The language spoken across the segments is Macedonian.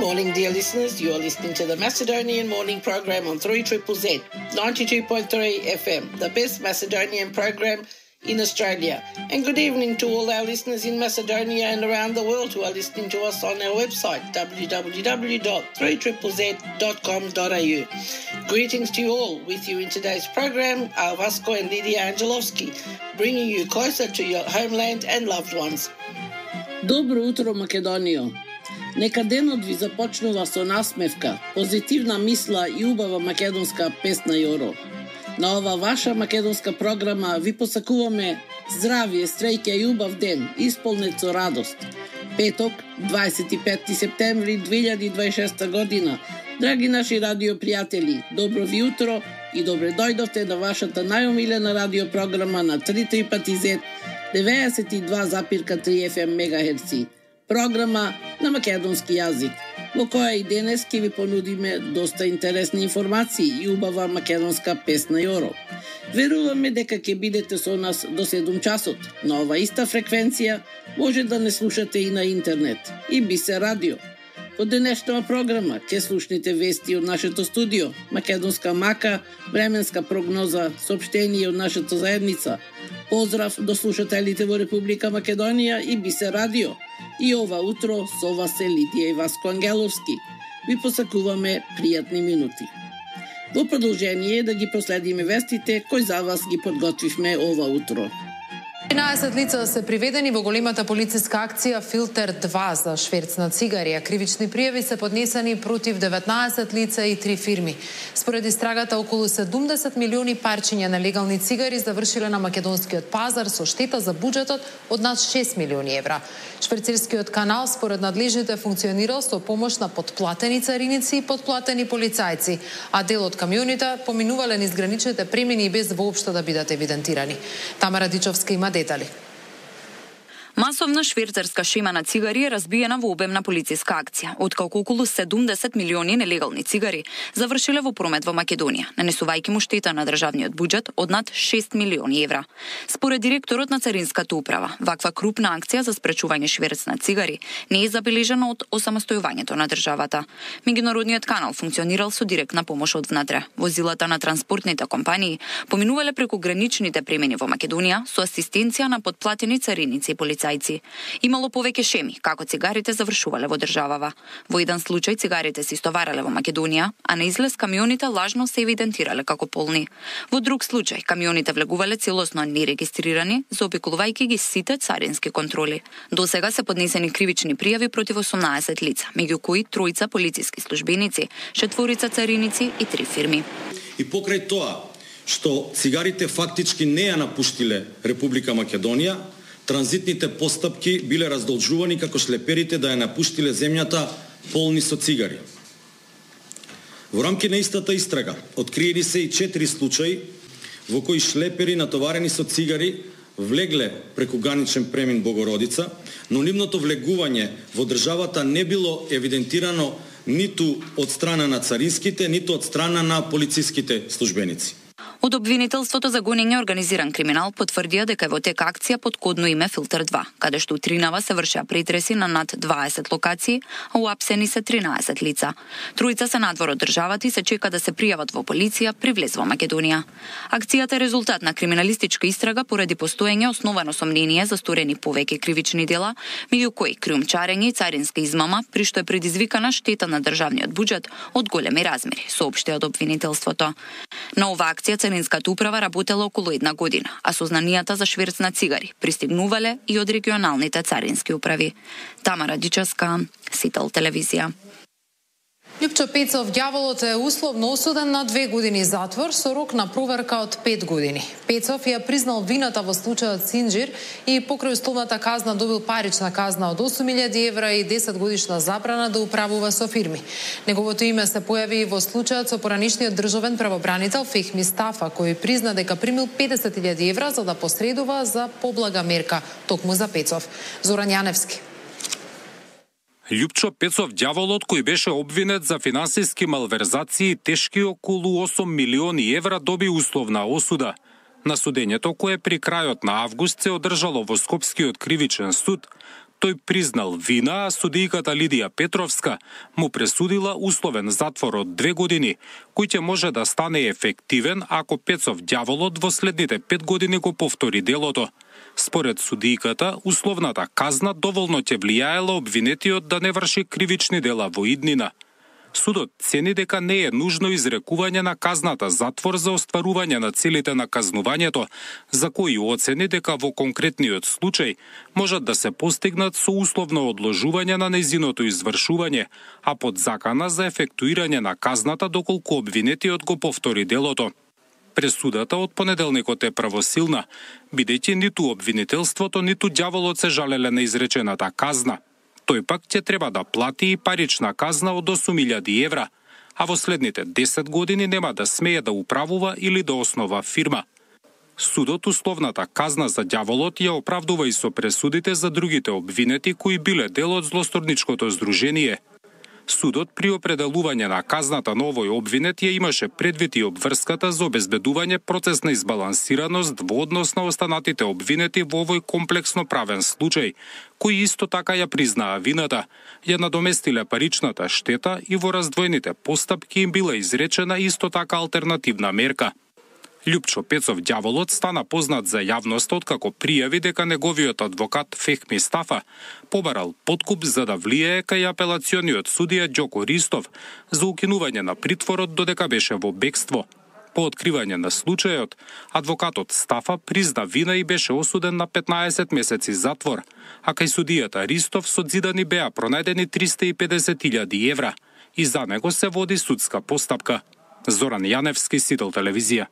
morning, dear listeners. You are listening to the Macedonian Morning Program on 3ZZZ, 92.3 FM, the best Macedonian program in Australia. And good evening to all our listeners in Macedonia and around the world who are listening to us on our website, www.3ZZZ.com.au. Greetings to you all. With you in today's program are Vasco and Lydia Angelovski, bringing you closer to your homeland and loved ones. Добро утро, Македонијо! Нека денот ви започнува со насмевка, позитивна мисла и убава македонска песна Јоро. На ова ваша македонска програма ви посакуваме здравие, среќа и убав ден, исполнет со радост. Петок, 25 септември 2026 година. Драги наши радиопријатели, добро ви утро и добре дојдовте на вашата најомилена радиопрограма на 3ZZZ 92,3 FM мегахерци. Програма на македонски јазик, во која и денес ќе ви понудиме доста интересни информации и убава македонска песна Јоро. Веруваме дека ќе бидете со нас до 7 часот. На ова иста фреквенција може да не слушате и на интернет, и би се радио. Во денешната програма ќе слушнете вести од нашето студио, македонска мака, временска прогноза, соопштение од нашата заедница. Поздрав до слушателите во Република Македонија и би се радио. И ова утро со вас е Лидија и Васко Ангеловски. Ви посакуваме пријатни минути. Во продолжение да ги проследиме вестите кои за вас ги подготвивме ова утро. 13 лица се приведени во големата полициска акција Филтер 2 за шверц на цигари, а кривични пријави се поднесени против 19 лица и 3 фирми. Според истрагата, околу 70 милиони парчиња нелегални цигари завршиле на македонскиот пазар со штета за буџетот од над 6 милиони евра. Шверцерскиот канал според надлежните функционирал со помош на подплатени цариници и подплатени полицајци, а дел од камионите поминувале низ граничните премини без воопшто да бидат евидентирани. Тамара Дичовска има детали. Масовна шверцерска шема на цигари е разбиена во обемна полициска акција, откако околу 70 милиони нелегални цигари завршиле во промет во Македонија, нанесувајќи му штета на државниот буџет од над 6 милиони евра. Според директорот на Царинската управа, ваква крупна акција за спречување шверц на цигари не е забележана од осамостојувањето на државата. Меѓународниот канал функционирал со директна помош од внатре. Возилата на транспортните компании поминувале преку граничните премини во Македонија со асистенција на подплатени цариници и полицајци. Имало повеќе шеми како цигарите завршувале во државава. Во еден случај цигарите се истоварале во Македонија, а на излез камионите лажно се евидентирале како полни. Во друг случај камионите влегувале целосно нерегистрирани, заобиколувајќи ги сите царински контроли. До сега се поднесени кривични пријави против 18 лица, меѓу кои 3 полициски службеници, 4 цариници и 3 фирми. И покрај тоа што цигарите фактички не ја напуштиле Република Македонија, транзитните постапки биле раздолжувани како шлеперите да ја напуштиле земјата полни со цигари. Во рамки на истата истрага откриени се и 4 случаи во кои шлепери натоварени со цигари влегле преку граничен премин Богородица, но нивното влегување во државата не било евидентирано ниту од страна на царинските, ниту од страна на полициските службеници. Од обвинителството за гонење организиран криминал потврдија дека е во тек акција под кодно име Филтер 2, каде што утринава се вршеа претреси на над 20 локации, а уапсени се 13 лица. Тројца се надвор од државата и се чека да се пријават во полиција при влез во Македонија. Акцијата е резултат на криминалистичка истрага поради постоење основано сомнение за сторени повеќе кривични дела, меѓу кои криумчарење и царинска измама, при што е предизвикана штета на државниот буџет од големи размери, соопшти од обвинителството. На ова акција Царинската управа работела околу 1 година, а сознанијата за шверц на цигари пристигнувале и од регионалните царински управи. Тамара Дичевска, Сител телевизија. Љупчо Пецов ѓаволот е условно осуден на 2 години затвор со рок на проверка од 5 години. Пецов ја признал вината во случајот Синџир и покрај условната казна добил парична казна од 8.000 евра и 10 годишна забрана да управува со фирми. Неговото име се појави и во случајот со поранишниот државен правобранител Фехми Стафа, кој призна дека примил 50.000 евра за да посредува за поблага мерка токму за Пецов. Зоран Јаневски. Љупчо Пецов ѓаволот, кој беше обвинет за финансиски малверзации тешки околу 8 милиони евра, доби условна осуда. На судењето, кое при крајот на август се одржало во Скопскиот кривичен суд, Тој признал вина, а судијката Лидија Петровска му пресудила условен затвор од 2 години, кој ќе може да стане ефективен ако Пецов ѓаволот во следните 5 години го повтори делото. Според судијката, условната казна доволно ќе влијаела обвинетиот да не врши кривични дела во иднина. Судот цени дека не е нужно изрекување на казната затвор за остварување на целите на казнувањето, за кои оцени дека во конкретниот случај можат да се постигнат со условно одложување на нејзиното извршување, а под закана за ефектуирање на казната доколку обвинетиот го повтори делото. Пресудата од понеделникот е правосилна, бидејќи ниту обвинителството, ниту ѓаволот се жалеле на изречената казна. Тој пак ќе треба да плати и парична казна од 8.000 евра, а во следните 10 години нема да смее да управува или да основа фирма. Судот условната казна за ѓаволот ја оправдува и со пресудите за другите обвинети кои биле дел од злосторничкото здружение. Судот при определување на казната на овој обвинет ја имаше предвид и обврската за обезбедување процесна избалансираност во однос на останатите обвинети во овој комплексно правен случај, кои исто така ја признаа вината, ја надоместиле паричната штета и во раздвоените постапки им била изречена исто така алтернативна мерка. Љупчо Пецов ѓаволот стана познат за јавноста откако пријави дека неговиот адвокат Фехми Стафа побарал подкуп за да влијае кај апелациониот судија Ѓоко Ристов за укинување на притворот додека беше во бегство. По откривање на случајот, адвокатот Стафа призна вина и беше осуден на 15 месеци затвор, а кај судијата Ристов со зидани беа пронајдени 350.000 евра и за него се води судска постапка. Зоран Јаневски, Сител телевизија.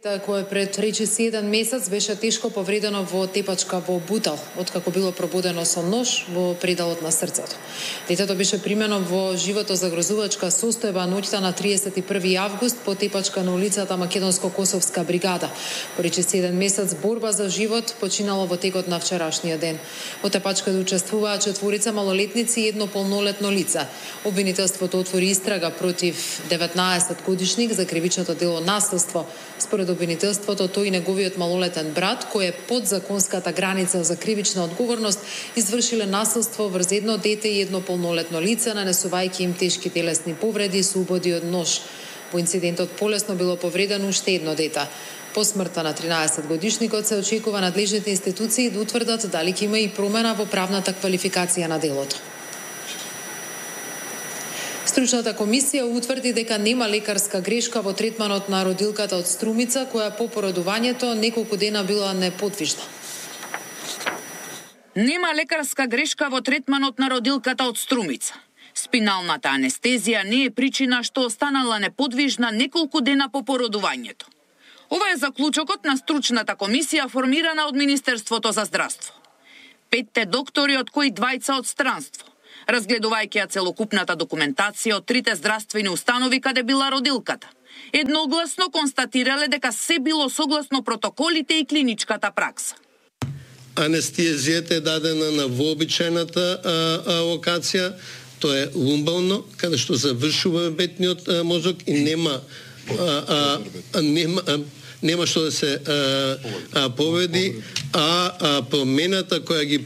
Кој пред речиси 1 месец беше тешко повредено во тепачка во Бутал, откако било пробудено со нож во пределот на срцето. Детето беше примено во животозагрозувачка состојба ноќта на 31 август по тепачка на улицата Македонско-Косовска бригада. По речиси 1 месец борба за живот починало во текот на вчерашниот ден. Во тепачката учествуваа 4 малолетници и 1 полнолетно лице. Обвинителството отвори истрага против 19-годишник за кривичното дело насилство. Според обвинителството, тој и неговиот малолетен брат, кој е под законската граница за кривична одговорност, извршиле насилство врз едно дете и 1 полнолетно лице, нанесувајќи им тешки телесни повреди со убоди од нож. Во инцидентот полесно било повредено уште едно дете. По смртта на 13-годишникот се очекува надлежните институции да утврдат дали ќе има и промена во правната квалификација на делото. Стручната комисија утврди дека нема лекарска грешка во третманот на родилката од Струмица, која по породувањето неколку дена била неподвижна. Нема лекарска грешка во третманот на родилката од Струмица. Спиналната анестезија не е причина што останала неподвижна неколку дена по породувањето. Ова е заклучокот на стручната комисија формирана од Министерството за здравство. 5 доктори, од кои 2 од странство, разгледувајќи ја целокупната документација од 3 здравствени установи каде била родилката, едногласно констатирале дека се било согласно протоколите и клиничката пракса. Анестезијата е дадена на вообичајната локација, тоа е лумбално, каде што завршува бетниот мозок и нема што да се повреди, а промената која ги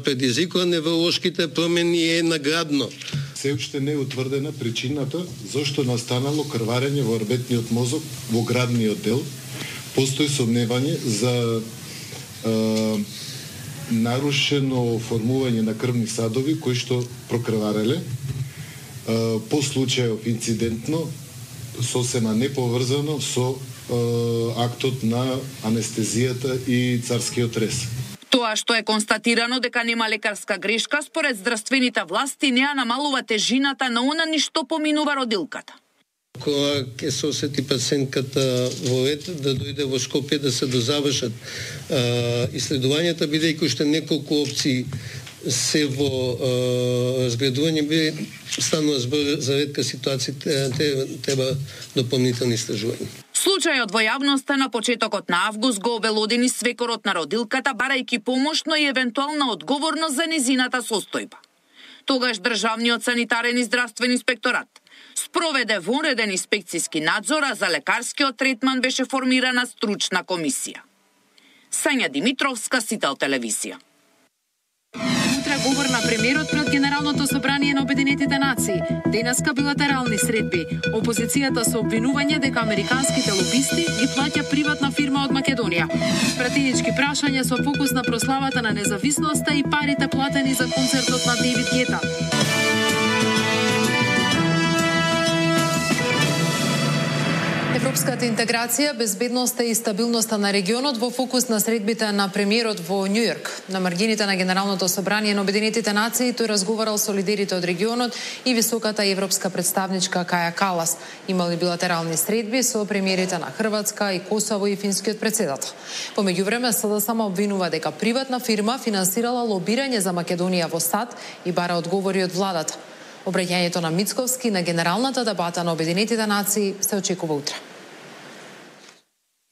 предизвикува невролошките промени е наградно. Се уште не е утврдена причината зошто настанало крварење во орбитниот мозок во градниот дел. Постои сомневање за нарушено формување на крвни садови кои што прокрвареле. По случајов инцидентно, сосема неповрзано со актот на анестезијата и царскиот рез. Тоа што е констатирано дека нема лекарска грешка, според здравствените власти не ја намалува тежината на она ни што поминува родилката. Кога ќе се осети пациентката во ред да дојде во Скопје да се дозавршат исследувањата, бидејќи уште неколку опции се во разгледување, би станува збор за ретка ситуација, треба дополнителни истражувања. Случајот во јавноста на почетокот на август го обелодени свекорот на родилката, барајќи помошно и евентуална одговорност за незината состојба. Тогаш Државниот санитарен и здравствен инспекторат спроведе вонреден инспекцијски надзор, а за лекарскиот третман беше формирана стручна комисија. Сања Димитровска, Сител телевизија. Утре говор на премиерот пред Генералното собрание на Обединетите нации. Денеска билатерални средби. Опозицијата со обвинување дека американските лобисти ги плаќа приватна фирма од Македонија. Пратенички прашања со фокус на прославата на независноста и парите платени за концертот на Дейвид Гета. Европската интеграција, безбедноста и стабилноста на регионот во фокус на средбите на премиерот во Њу Јорк. На маргините на Генералното собрание на Обединетите нации тој разговарал со лидерите од регионот и високата европска представничка Каја Калас. Имали билатерални средби со премиерите на Хрватска и Косово и финскиот председател. По меѓувреме СДСМ обвинува дека приватна фирма финансирала лобирање за Македонија во САД и бара одговори од владата. Обраќањето на Мицковски на генералната дебата на Обединетите нации се очекува утре.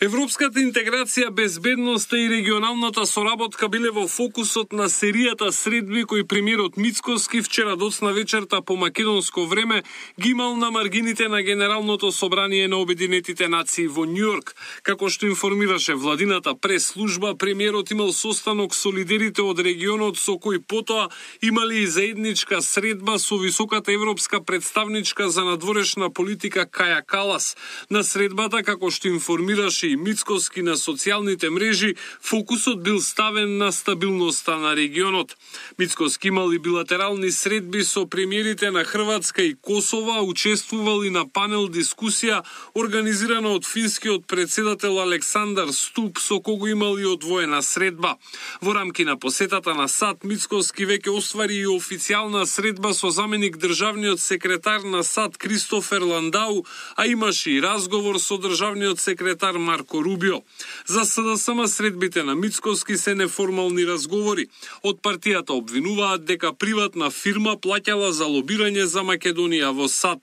Европската интеграција, безбедноста и регионалната соработка биле во фокусот на серијата средби кои премиерот Мицковски вчера доцна вечерта по македонско време ги имал на маргините на Генералното собрание на Обединетите нации во Њу Јорк. Како што информираше владината прес-служба, премиерот имал состанок со лидерите од регионот со кои потоа имали и заедничка средба со високата европска представничка за надворешна политика Каја Калас. На средбата, како што информираше и Мицковски на социјалните мрежи, фокусот бил ставен на стабилноста на регионот. Мицковски имал и билатерални средби со премиерите на Хрватска и Косово, учествувал и на панел дискусија организирана од финскиот председател Александар Ступ, со кого имал и одвоена средба. Во рамки на посетата на САД, Мицковски веќе оствари и официјална средба со заменик државниот секретар на САД Кристофер Ландау, а имаше и разговор со државниот секретар Марко Рубио. За СДСМ средбите на Мицковски се неформални разговори. Од партијата обвинуваат дека приватна фирма плаќала за лобирање за Македонија во САД.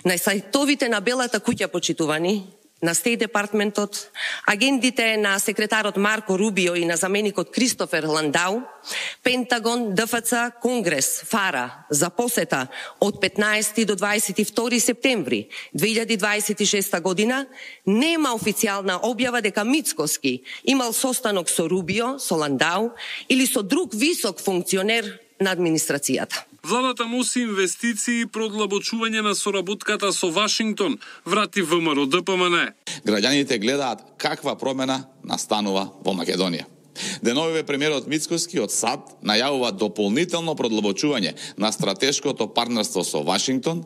На сајтовите на Белата куќа, почитувани, на Стейт департментот, агендите на секретарот Марко Рубио и на заменикот Кристофер Ландау, Пентагон, ДФЦ, Конгрес, ФАРА за посета од 15 до 22 септември 2026 година нема официјална објава дека Мицковски имал состанок со Рубио, со Ландау или со друг висок функционер на администрацијата. Владата носи инвестиции и продлабочување на соработката со Вашингтон, врати ВМРО ДПМН. Граѓаните гледаат каква промена настанува во Македонија. Деновиве премиерот Мицковски од САД најавува дополнително продлабочување на стратешкото партнерство со Вашингтон,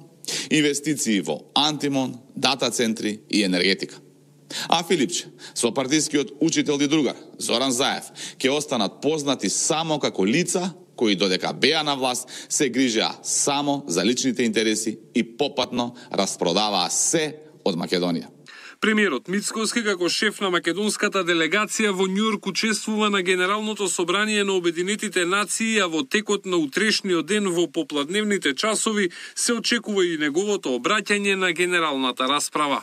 инвестиции во антимон, дата центри и енергетика. А Филипче, со партискиот учител и другар Зоран Заев, ќе останат познати само како лица кои додека беа на власт се грижеа само за личните интереси и попатно распродаваа се од Македонија. Премиерот Мицковски како шеф на македонската делегација во Њу Јорк учествува на Генералното собрание на Обединетите нации, а во текот на утрешниот ден во попладневните часови се очекува и неговото обраќање на генералната расправа.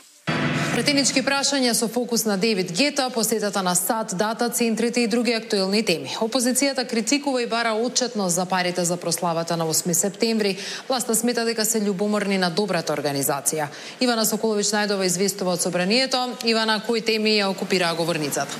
Претенички прашања со фокус на Дейвид Гета, посетата на САД, дата центрите и други актуелни теми. Опозицијата критикува и бара отчетност за парите за прославата на 8 септември. Власта смета дека се љубоморни на добрата организација. Ивана Соколович најдова известува од собранието. Ивана, кои теми ја окупираа говорницата?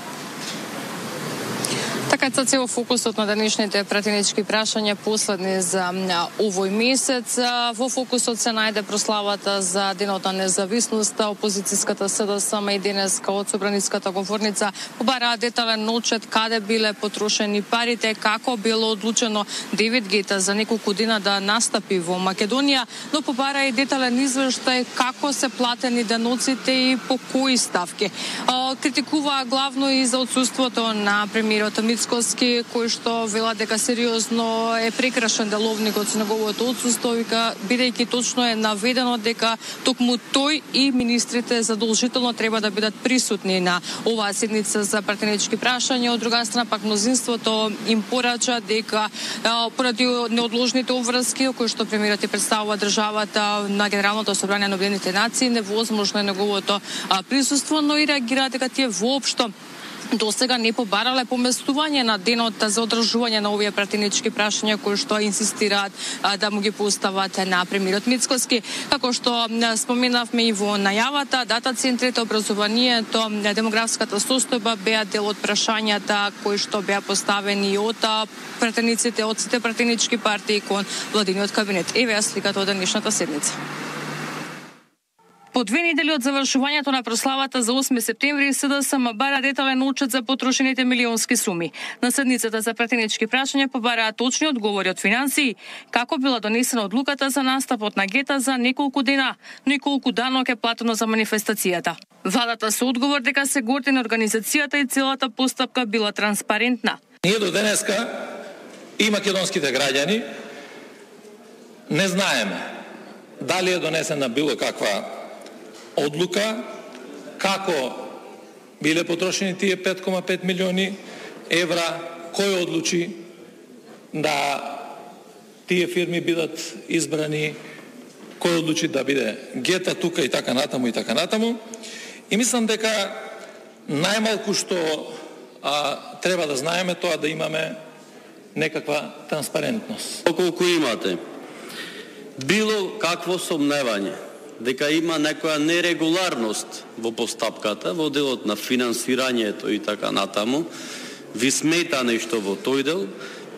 Така е цел фокусот на денешните пратенички прашања последни за овој месец. Во фокусот се најде прославата за Денот на независноста. Опозицијската СДСМ и денеска од собраницката говорница побараа детален отчет каде биле потрошени парите, како било одлучено Дейвид Гета за неколку дена да настапи во Македонија, но побара и детален извештај како се платени деноците и по кои ставки. Критикуваа главно и за отсуството на премиерот Мицковски, кој што вела дека сериозно е прекрашен деловникот со неговото отсуство, бидејќи точно е наведено дека токму тој и министрите задолжително треба да бидат присутни на оваа седница за пратенички прашања. Од друга страна пак мнозинството им порача дека поради неодложните обврски кои што премиерот ја представува државата на Генералното собрание на Обединетите нации, невозможно е неговото присуство, но и реагира дека тие воопшто досега не побарале поместување на денот за одржување на овие пратенички прашања кои што инсистираат да му ги постават на премиерот Мицкоски. Како што споменавме и во најавата, дата центрите, образованието, демографската состојба беа дел од прашањата кои што беа поставени од пратениците од сите пратенички партии кон владиниот кабинет. Еве ја сликата од денешната седница. По 2 недели од завршувањето на прославата за 8 септември, СДСМ бара детален отчет за потрошените милионски суми. На седницата за пратенички прашања побараа точни одговори од финансии, како била донесена одлуката за настапот на гета за неколку дена, но и колку данок е платено за манифестацијата. Владата со одговор дека се горди на организацијата и целата постапка била транспарентна. Ние до денеска и македонските граѓани не знаеме дали е донесена било каква одлука, како биле потрошени тие 5,5 милиони евра, кој одлучи да тие фирми бидат избрани, кој одлучи да биде гета тука и така натаму и така натаму. И мислам дека најмалку што треба да знаеме тоа да имаме некаква транспарентност. Колку имате било какво сомневање дека има некоја нерегуларност во постапката, во делот на финансирањето и така натаму, ви смета нешто во тој дел,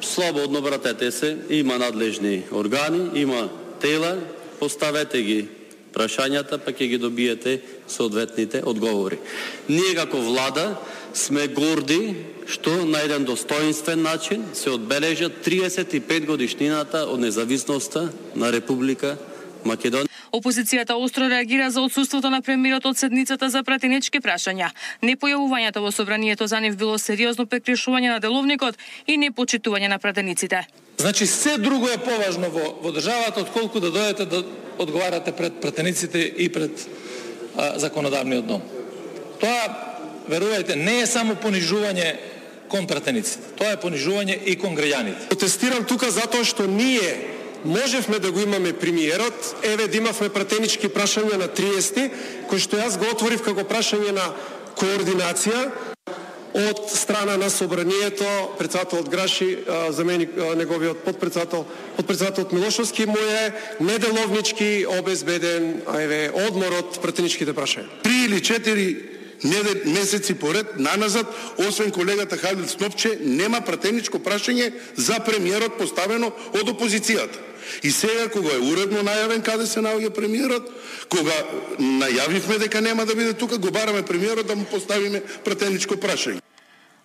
слободно вратете се, има надлежни органи, има тела, поставете ги прашањата, па ќе ги добиете соодветните одговори. Ние како влада сме горди што на еден достоинствен начин се одбележа 35 годишнината од независноста на Република Македонија. Опозицијата остро реагира за отсуството на премиерот од седницата за пратенички прашања. Непојавувањето во собранието за нив било сериозно прекршување на деловникот и непочитување на пратениците. Значи, се друго е поважно во државата отколку да дојдете да одговарате пред пратениците и пред законодавниот дом. Тоа, верувајте, не е само понижување кон пратениците. Тоа е понижување и кон граѓаните. Протестирам тука затоа што ние можевме да го имаме премиерот, еве да имавме пратенички прашања на 30, кој што јас го отворив како прашање на координација од страна на собранието, председателот Граши, заменик неговиот подпредседателот Милошовски, му е неделовнички обезбеден одмор од пратеничките прашања. 3 или 4 месеци поред наназад, освен колегата Халил Снопче, нема пратеничко прашање за премиерот поставено од опозицијата. И сега, кога е уредно најавен каде се наоѓа премиерот, кога најавивме дека нема да биде тука, го бараме премиерот да му поставиме пратеничко прашање.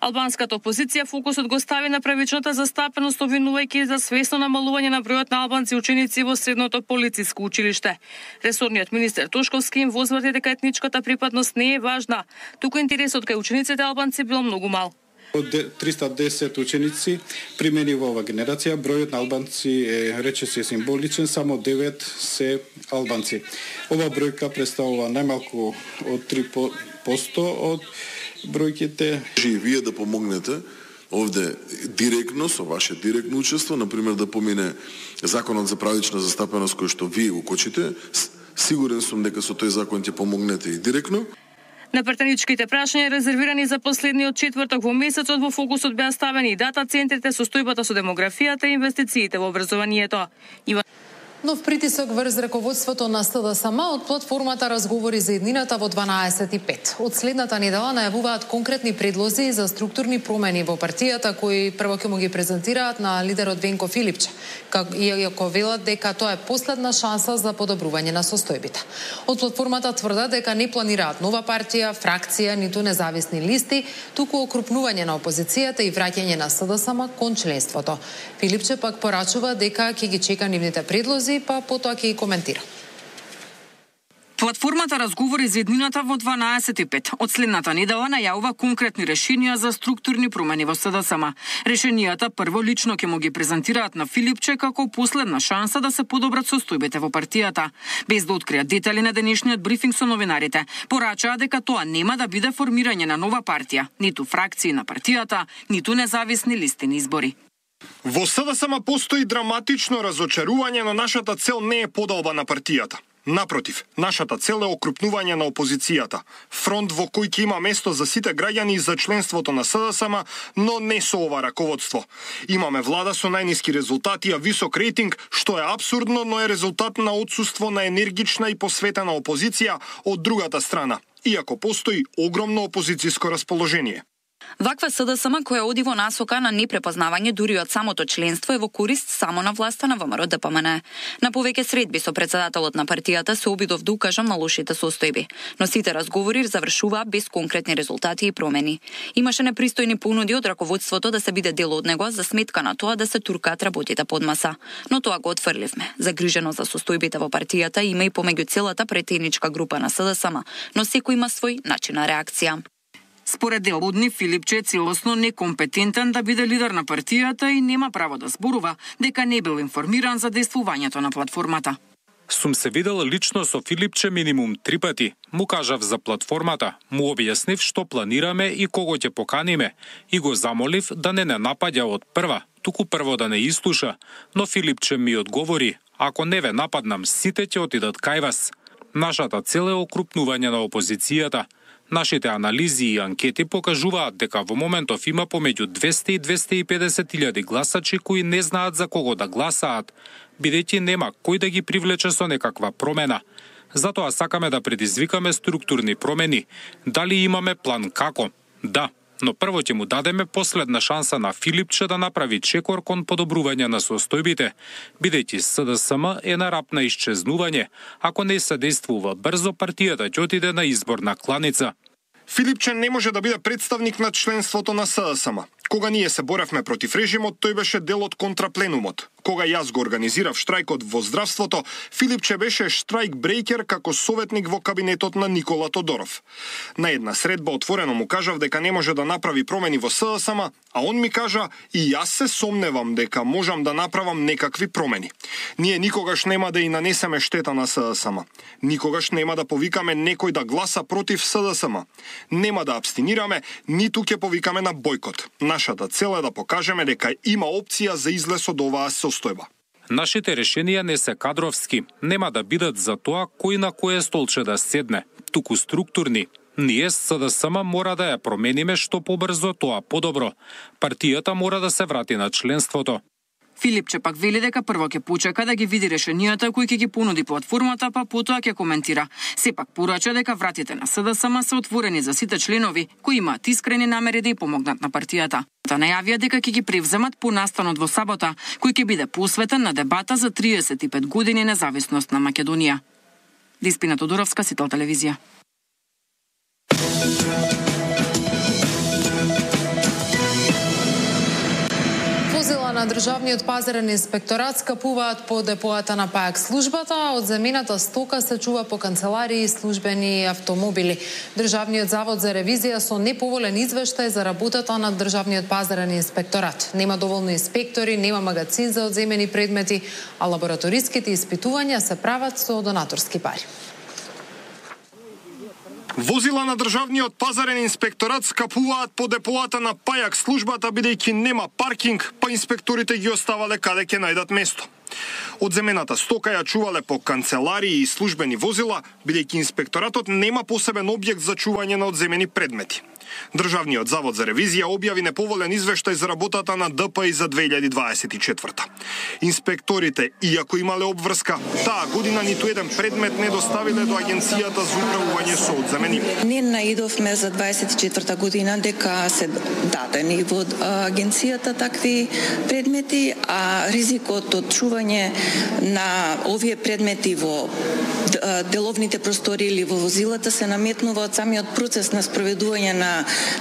Албанската опозиција фокусот го стави на правичната застапеност, обвинувајќи за свесно намалување на бројот на албанци ученици во средното полициско училиште. Ресорниот министер Тошковски им возврати дека етничката припадност не е важна, туку интересот кај учениците албанци бил многу мал. Од 310 ученици примени во ова генерација, бројот на албанци е речиси символичен, само 9 се албанци. Ова бројка представува најмалку од 3% од бројките. И вие да помогнете овде директно, со ваше директно учество, например да помине законот за правична застапеност кој што вие го кочите, сигурен сум дека со тој закон ќе помогнете и директно. На пратеничките прашања резервирани за последниот четврток во месецот во фокусот беа ставени и дата центрите, состојбата со демографијата и инвестициите во образованието. Нов притисок врз раководството на СДСМ од платформата Разговори за иднината во 12:05. Од следната недела најавуваат конкретни предлози за структурни промени во партијата кои прво ќе му ги презентираат на лидерот Венко Филипче, иако велат дека тоа е последна шанса за подобрување на состојбите. Од платформата тврдат дека не планираат нова партија, фракција, ниту независни листи, туку окрупнување на опозицијата и враќање на СДСМ кон членството. Филипче пак порачува дека ќе ги чека нивните предлози, па потоа ќе ги коментира. Платформата Разговори за иднината во 12:05 од следната недела најавува конкретни решенија за структурни промени во СДСМ. Решенијата прво лично ќе му ги презентираат на Филипче како последна шанса да се подобрат состојбите во партијата. Без да откријат детали на денешниот брифинг со новинарите, порачаа дека тоа нема да биде формирање на нова партија, ниту фракции на партијата, ниту независни листи на избори. Во СДСМ постои драматично разочарување, но нашата цел не е подолба на партијата. Напротив, нашата цел е окрупнување на опозицијата, фронт во кој ќе има место за сите граѓани за членството на СДСМ, но не со ова раководство. Имаме влада со најниски резултати, а висок рейтинг, што е апсурдно, но е резултат на отсуство на енергична и посветена опозиција од другата страна, иако постои огромно опозицијско расположение. Ваква СДСМ која оди во насока на непрепознавање дури од самото членство е во корист само на власта на ВМРО-ДПМН. На повеќе средби со претседателот на партијата се обидов да укажам на лошите состојби, но сите разговори завршуваа без конкретни резултати и промени. Имаше непристојни понуди од раководството да се биде дел од него за сметка на тоа да се туркаат работите под маса, но тоа го отфрливме. Загрижено за состојбите во партијата има и помеѓу целата претеничка група на СДСМ, но секој има свој начин на реакција. Според дел од нив, Филипче е целосно некомпетентен да биде лидер на партијата и нема право да зборува дека не бил информиран за действувањето на платформата. Сум се видел лично со Филипче минимум 3 пати. Му кажав за платформата, му објаснив што планираме и кого ќе поканиме и го замолив да не напаѓа од прва, туку прво да не изслуша, но Филипче ми одговори: ако не ве нападнам, сите ќе отидат кај вас. Нашата цел е окрупнување на опозицијата. Нашите анализи и анкети покажуваат дека во моментов има помеѓу 200 и 250 илјади гласачи кои не знаат за кого да гласаат, бидејќи нема кој да ги привлече со некаква промена. Затоа сакаме да предизвикаме структурни промени. Дали имаме план како? Да, но прво ќе му дадеме последна шанса на Филипче да направи чекор кон подобрување на состојбите, бидејќи СДСМ е на рап на исчезнување. Ако не се действува брзо, партијата ќе отиде на изборна кланица. Филипче не може да биде представник на членството на СДСМ. Кога ние се боревме против режимот, тој беше дел од контрапленумот. Кога јас го организирав штрајкот во здравството, Филипче беше штрајк брейкер како советник во кабинетот на Никола Тодоров. На една средба отворено му кажав дека не може да направи промени во СДСМ, а он ми кажа: и јас се сомневам дека можам да направам некакви промени. Ние никогаш нема да и нанесеме штета на СДСМ. Никогаш нема да повикаме некој да гласа против СДСМ. Нема да абстинираме, ниту ќе повикаме на бојкот. Нашата цел е да покажеме дека има опција за излез од оваа состојба. Нашите решенија не се кадровски, нема да бидат за тоа кој на кое столче да седне, туку структурни. Ние СДСМ мора да ја промениме што побрзо, тоа подобро. Партијата мора да се врати на членството. Филипче пак вели дека прво ќе почека да ги види решенијата кои ќе ги понуди платформата, па потоа ќе коментира. Сепак порача дека вратите на СДСМ се отворени за сите членови кои имаат искрени намери да ја помогнат на партијата. Та најавија дека ќе ги превземат по настанот во сабота, кој ќе биде посветен на дебата за 35 години независност на Македонија. Диспина Тодоровска, Сител телевизија. Возила на Државниот пазарен инспекторат скапуваат по депоата на ПАЕК службата, а од замената стока се чува по канцеларии и службени автомобили. Државниот завод за ревизија со неповолен извештај за работата на Државниот пазарен инспекторат. Нема доволно инспектори, нема магазин за одземени предмети, а лабораториските испитувања се прават со донаторски пари. Возила на Државниот пазарен инспекторат скапуваат по депоата на ПАЕК службата бидејќи нема паркинг, па инспекторите ги оставале каде ќе најдат место. Одземената стока ја чувале по канцеларии и службени возила, бидејќи инспекторатот нема посебен објект за чување на одземени предмети. Државниот завод за ревизија објави неповолен извештај за работата на ДПИ за 2024. Инспекторите, иако имале обврска, таа година ниту еден предмет не доставиле до Агенцијата за управување со одземени. Не наидовме за 24 година дека се дадени во Агенцијата такви предмети, а ризикот од чување на овие предмети во деловните простори или во возилата се наметнува од самиот процес на спроведување на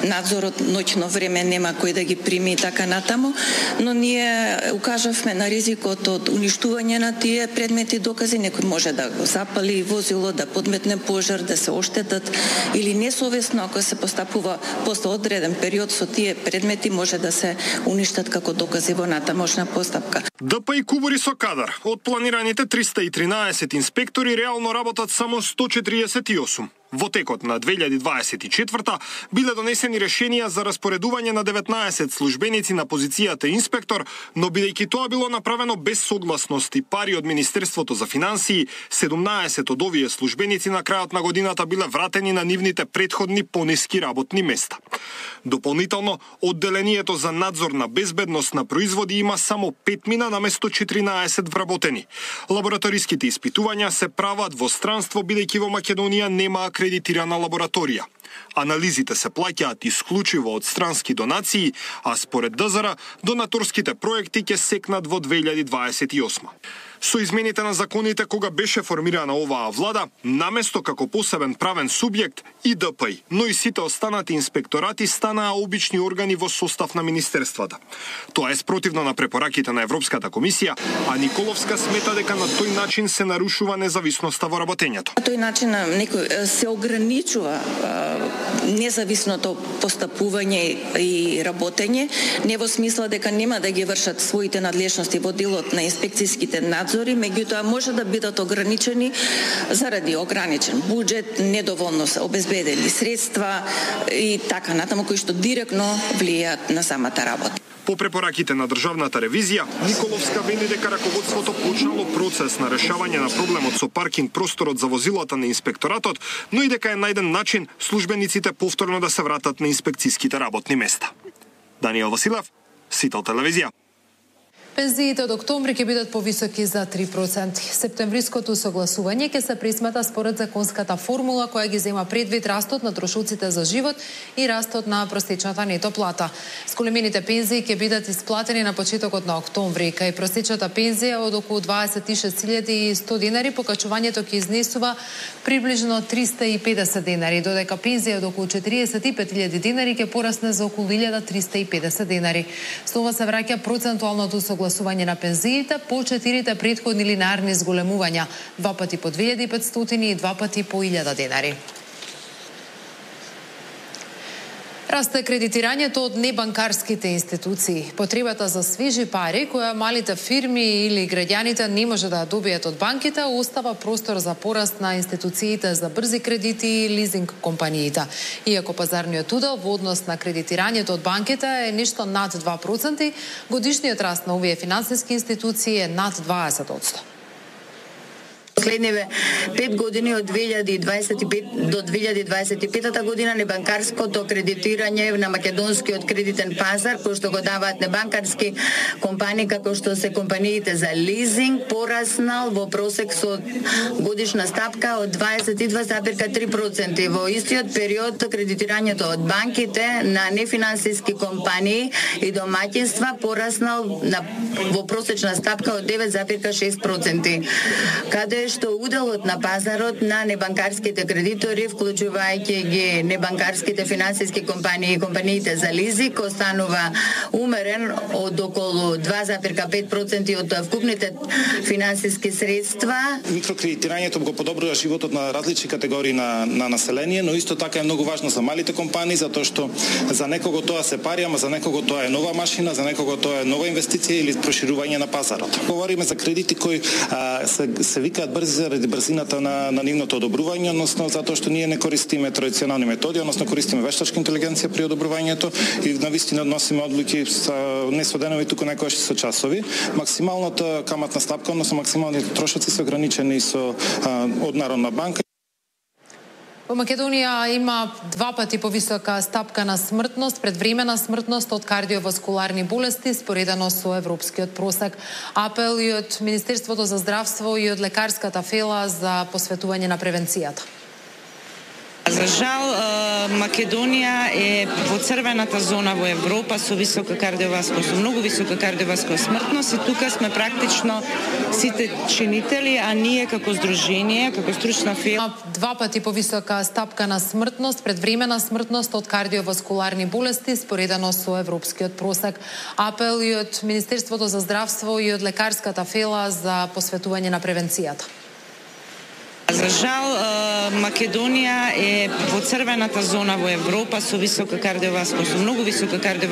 надзорот. Ноќно време нема кој да ги прими и така натаму, но ние укажавме на ризикот од уништување на тие предмети докази. Некој може да го запали возило, да подметне пожар, да се оштетат или несовесно, ако се постапува после одреден период со тие предмети, може да се уништат како докази во натамошна постапка. ДПИ кубури со кадар. Од планираните 313 инспектори реално работат само 148. Во текот на 2024 биле донесени решенија за распоредување на 19 службеници на позицијата инспектор, но бидејќи тоа било направено без согласност и пари од Министерството за финансии, 17 од овие службеници на крајот на годината биле вратени на нивните претходни пониски работни места. Дополнително, одделението за надзор на безбедност на производи има само 5 мина наместо 14 вработени. Лабораториските испитувања се прават во странство бидејќи во Македонија нема акредитирана лабораторија. Анализите се плаќаат исклучиво од странски донации, а според ДЗР, донаторските проекти ќе секнат во 2028. Со измените на законите кога беше формирана оваа влада, наместо како посебен правен субјект и ДПИ, но и сите останати инспекторати станаа обични органи во состав на министерствата. Тоа е спротивно на препораките на Европската комисија, а Николовска смета дека на тој начин се нарушува независноста во работењето. На тој начин некој се ограничува независното постапување и работење, не во смисла дека нема да ги вршат своите надлежности во делот на инспекцијските надзори, меѓутоа може да бидат ограничени заради ограничен буџет, недоволно обезбедени средства и така натаму, кои што директно влијаат на самата работа. По препораките на државната ревизија, Николовска вели дека раководството почнало процес на решавање на проблемот со паркинг просторот за возилата на инспекторатот, но и дека е најден начин службениците повторно да се вратат на инспекцијските работни места. Даниел Василев, Сител телевизија. Пензиите од октомври ќе бидат повисоки за 3%. Септемвриското согласување ќе се присмета според законската формула која ги зема предвид растот на трошоците за живот и растот на просечната нето плата. Сколемените пензии ќе бидат исплатени на почетокот на октомври, кај просечната пензија од околу 26.100 денари, покачувањето ќе изнесува приближно 350 денари, додека пензија од околу 45.000 денари ќе порасне за околу 1.350 денари. Снова се враќа процентуалното согласување на пензиите по 4 претходни линарни зголемувања, 2 пати по 2.500 и 2 пати по 1.000 денари. Расте кредитирањето од небанкарските институции. Потребата за свежи пари, која малите фирми или граѓаните не може да добијат од банките, остава простор за пораст на институциите за брзи кредити и лизинг компаниите. Иако пазарниот удел во однос на кредитирањето од банките е нешто над 2%, годишниот раст на овие финансиски институции е над 20%. Последниве 5 години од 2025 до 2025 година небанкарското кредитирање на македонскиот кредитен пазар, кој што го даваат небанкарски компании како што се компаниите за лизинг, пораснал во просек со годишна стапка од 22,3%. Во истиот период кредитирањето од банките на нефинансиски компании и домаќинства пораснал во просечна стапка од 9,6%. Каде што уделот на пазарот на небанкарските кредитори, вклучувајќи ги небанкарските финансиски компании и компаниите за лизинг, останува умерен од околу 2,5% од вкупните финансиски средства. Микрокредитирањето го подобрува животот на различни категории на население, но исто така е многу важно за малите компании, затоа што за некого тоа се пари, ама за некого тоа е нова машина, за некого тоа е нова инвестиција или проширување на пазарот. Говориме за кредити кои се викаат брзи заради брзината на нивното одобрување, односно затоа што ние не користиме традиционални методи, односно користиме вештачка интелигенција при одобрувањето и навистина носиме одлуки не со денови, туку некогаш со часови. Максималната каматна стапка, односно максималните трошоци се ограничени од Народна банка. Во Македонија има 2 пати повисока стапка на смртност, предвремена смртност од кардиоваскуларни болести, споредено со европскиот просек. Апел и од Министерството за здравство и од лекарската фела за посветување на превенцијата. За жал, Македонија е во црвената зона во Европа со многу висока кардиоваскуларна смртност и тука сме практично сите чинители, а ние како здружение, како стручна фирма 2 пати повисока стапка на смртност, предвремена смртност од кардиоваскуларни болести, споредено со европскиот просек. Апел и од Министерството за здравство и од лекарската фела за посветување на превенцијата. За жал, Македонија е во црвената зона во Европа со многу висока кардиоваскуларна